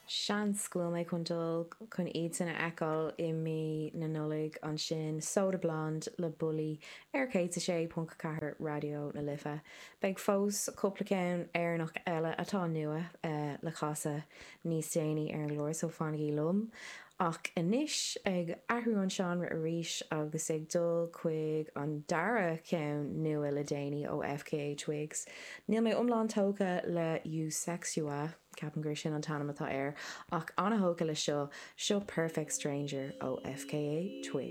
Seans go bhfuil mé chun dul chun iadsan a fheiceáil i mí na Nollag ansin, Soda Blonde le Bully ar 106.4 Raidió na Life. Beidh fós cúpla ceann Éireannach eile atá nua le casadh níos déanaí ar an gclár so fanaigí liom. Ach anois, ag athrú an seánra arís agus ag dul chuig an dara ceann nua le déanaí ó FKA Twigs. Níl mé iomlán tógtha le Eusexua, ceapaim gur sin an t-ainm atá air, ach an-thógtha le seo, seo Perfect Stranger ó FKA Twigs.